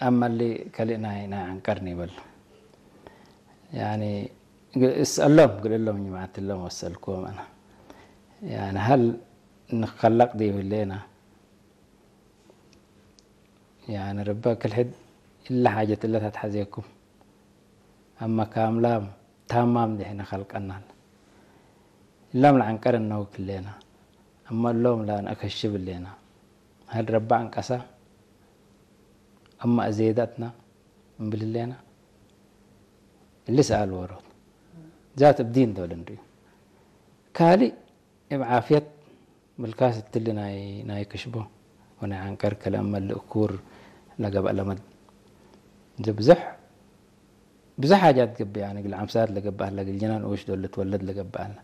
ኣማሊ ካልእ ናይ ናይ ዓንቀር ንይበል። ያኒ እስኣሎም ግልሎም ጅማዓት ሎም ወሰልክዎም ኣና። ያኒ ሃል ንኸለቕ ዲብሌና። ያኒ ረባ ክልሕድ ኢላ ሓጀት እለ ታትሓዜኩም። ኣማ ካምላም ታማም ድሕነ ኸልቀናል። እላም ለዓንቀር እነውክ ሌና። ኣማ እሎም ላን ኣከሽብ ሌና። ሃል ረባ ዓንቀሳ። ኣማ እዜዳትና እምብል ሌና። እሊ ሰኣል ወሮት። ዛት እብዲን ዶል እንድዩ። ካልእ እብ ዓፍየት ምልካስ እትሊ ናይ ናይ ክሽቦ ወናይ ዓንቀር ከለ እመ ልእኩር ለገብአ ለመድ። እዚ ብዙሕ ብዙሕ ሓጃት ገብእ፣ ያኒ ግል ዓምሳት ለገብእ ኣላ፣ ግል ጅናን ኡሽ ዶል ልትወለድ ለገብእ ኣላ።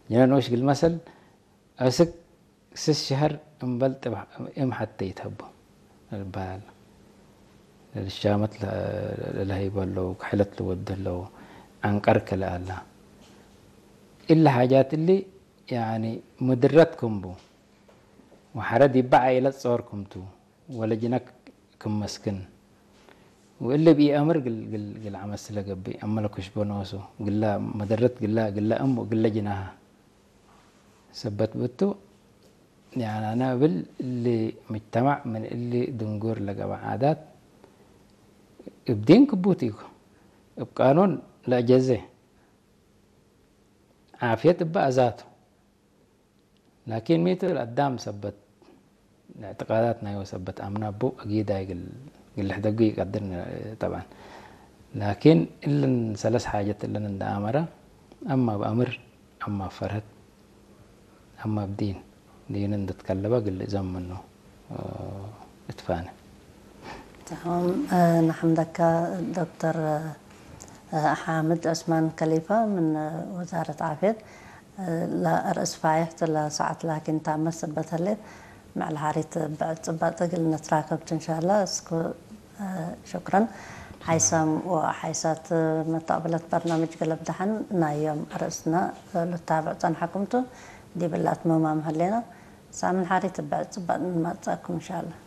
ጅናን ኡሽ ግል መሰል፣ ኣስክ ስስ ሸህር እምበል ጥብ እም ሓተ ይትሀቦ ልበሃል። ለልሻመት ለ-፣ ለለሀይቦ ኣለዉ፣ ክሕለት ልወዱ ኣለዉ፣ ዓንቀር ከለ ኣላ። እሊ ሓጃት እሊ፣ ያኒ፣ ምድረት ክምቡ፣ ወሐረ ዲባ ዓኢለት ጾር ክምቱ፣ ወለጅነክ ክመስክን፣ ወእሊ ብኢአምር ግል፣ ግል፣ ግል ዓመት ስለ ገብእ፣ አመለ ኩሽቦ ነወሱ፣ ግላ መደረት፣ ግላ፣ ግላ እም ወግለ ጅናሃ። ሰበት ብቱ፣ ያኒ፣ አነ እብል እሊ ምጅተማዕ ምን እሊ ድንጉር ለገበ ዓዳት፣ እብ ዲን ክቡት ኢኮ፣ እብ ቃኑን ለአጀዜ፣ ዓፍየት እበ አዛቱ። ላኪን ሚቱ ለአዳም ሰበት እዕትቃዳት ናዩ ሰበት አምና ቡ አጊድ አይ ግል፣ ግል ሕደጉ ይቀድር ነ-፣ ጠብዓን። ላኪን እልን ሰለስ ሓጀት እልን እንደ አመረ፣ አማ ብአምር፣ አማ ፈርህት፣ አማ ብዲን፣ ዲን እንድትከለበ ግል እዘም ምኑ፣ እ፣ እትፋነ። تمام. آه، نحمدك دكتور، آه، حامد عثمان كليفة من، آه، وزارة عافية. آه، لا رأس فايح لا ساعة لكن تامس بتلت مع الحارث بعد بعد قلنا تراكبت إن شاء الله. اسكو، آه، شكرا. حيسام وحيسات، آه، متقبلة برنامج قلب دحن نايم رأسنا، آه، للتابع تنحكمتو. دي بلات ماما مهلينا. سامن حارث بعد بعد ما تأكم إن شاء الله.